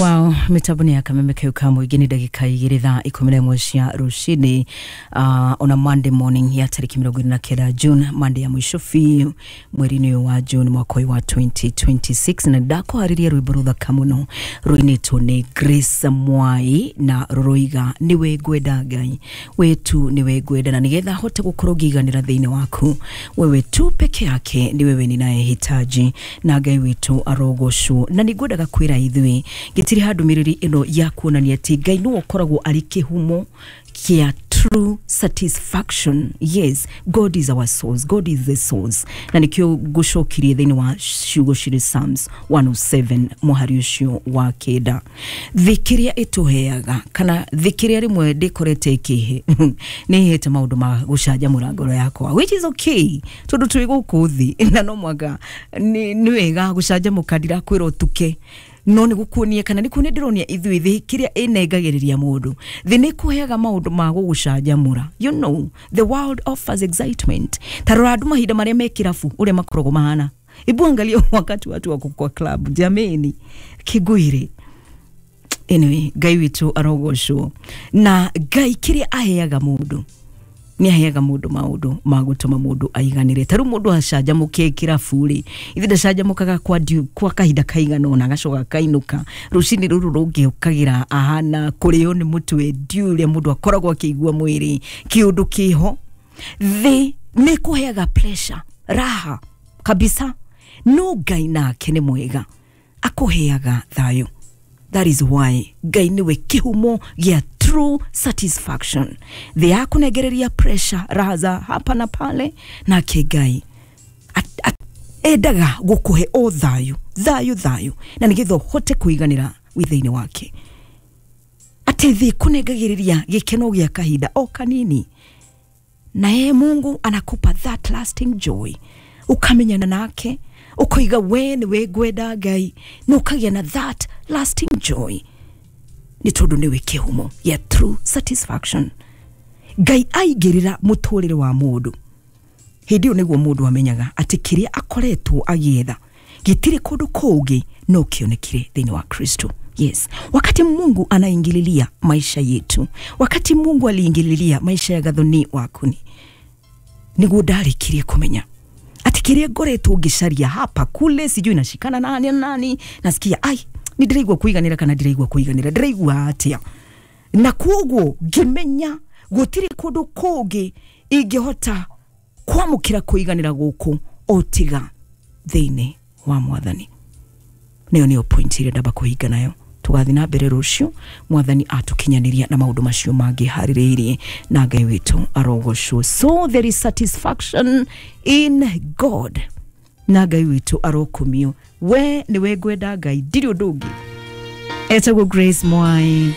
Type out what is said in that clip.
Wow, mĩtambo nĩ ya Kameme kau ka mũingĩ nĩ ndagĩka 2 thaa 11 cia rũcinĩ, ona Monday morning ya tarĩki 29 June, Monday ya mũico biũ mweri-inĩ ũyũ wa June mwaka ũyũ wa 2026. Na ndakũharĩria rwĩmbo rũthaka mũno rũinĩtwo nĩ Grace Mwai na rũroiga nĩwe ngwenda Ngai wetu, nĩwe ngwenda, na nĩgetha hote gũkorwo ngĩiganĩra thĩinĩ waku, wewe tu peke yake ni wewe ninayehitaji, na Ngai witũ arogocwo. Na nĩ ngwendaga kwĩra ithuĩ gĩtirĩ handũmĩrĩri ĩno ya kuonania atĩ Ngai nĩwe ũkoragwo arĩ kĩhumo kĩa true satisfaction. Yes, God is our source, God is the source. Na nĩkĩo ngũcokirie thĩinĩ wa ciugo cirĩ Psalms 107 mũhari ũcio wa 9. Thĩ kĩrĩa ĩtũheaga kana thĩ kĩrĩa rĩmwe ndĩkorete ĩkĩhe nĩ ĩhete maũndũ ma gũcanjamũra ngoro yakwa, which is okay, tondũ twĩ gũkũ thĩ na no mwaka nĩ wega gũcanjamũka. Ndirakwĩra ũtuke, no nĩ gũkuonia kana nĩ kuonia ndĩronia ithuĩ thĩ kĩrĩa ĩnengagĩrĩria mũndũ. Thĩ nĩ kũheaga maũndũ ma gũgũcanjamũra. The world offers excitement. Ta rora andũ mahinda marĩa me kĩrabu ũrĩa makoragwo mahana. Hebu angalia wakati watu wako kwa club, jameni, kĩngũire. Anyway, Ngai witũ arogocwo. Na Ngai kĩrĩa aheaga mũndũ nĩ aheaga mũndũ maũndũ ma gũtũma mũndũ aiganĩre. Ta rĩu mũndũ acanjamũke kĩrabu rĩ, ithe ndacanjamũkaga kwa kahinda kaigana ũna, agacoka akainũka rũcinĩ rũrũ rũngĩ ũkagĩra ahana kũrĩo nĩ mũtwe, ndiũ ũrĩa mũndũ akoragwo akĩigua mwĩrĩ kĩũndũ kĩho. Thĩ nĩ kũheaga pressure, raha kabisa, no Ngai nake nĩ mwega, akũheaga thayũ. That is why Ngai nĩwe kĩhumo gĩa true satisfaction. Thĩ yakũnengereria pressure, raha za hapa na pale, nake Ngai endaga gũkũhe o thayũ, thayũ, thayũ, na nĩgetha ũhote kũiganĩra wĩ thĩinĩ wake. Atĩ thĩ kũnengagĩrĩria gĩkeno gĩa kahinda o kanini, na yeye Mungu anakupa that lasting joy. Ukamenyana nake ukoiga we nĩwe ngwenda Ngai, na ũkagĩa na that lasting joy, nĩ tondũ nĩwe kĩhumo ya true satisfaction. Ngai aingĩrĩra mũtũrĩre wa mũndũ, hĩndĩ ĩyo nĩguo mũndũ amenyaga atĩ kĩrĩa akoretwo agĩetha gĩtirĩ kũndũ kũngĩ no kĩonekire thĩinĩ wa Kristo. Yes, wakati Mungu anaingililia maisha yetu, wakati Mungu aliingililia maisha ya Gathoni Wakuni, nĩguo ndarĩkirie kũmenya atĩ kĩrĩa ngoretwo ngĩcaria hapa kule, sijui nashikana nani na nani, nasikia ai nĩ ndĩraigua kũiganĩra kana ndĩraigua kũiganĩra, ndĩraigua atĩa? Na koguo ngĩmenya gũtirĩ kũndũ kũngĩ ingĩhota kwamũkĩra kũiganĩra gũkũ o tiga thĩinĩ wa Mwathani. Nĩyo nĩyo point ĩrĩa ndamba kũhinga nayo. Tũgathiĩ na mbere rũciũ Mwathani atũkinyanĩria na maũndũ macio mangĩ harĩrĩirie, na Ngai witũ arogocwo. So there is satisfaction in God, na Ngai witũ arokumio. We nĩwe ngwenda Ngai, ndirĩ ũndũ ũngĩ. Etagwo Grace Mwai.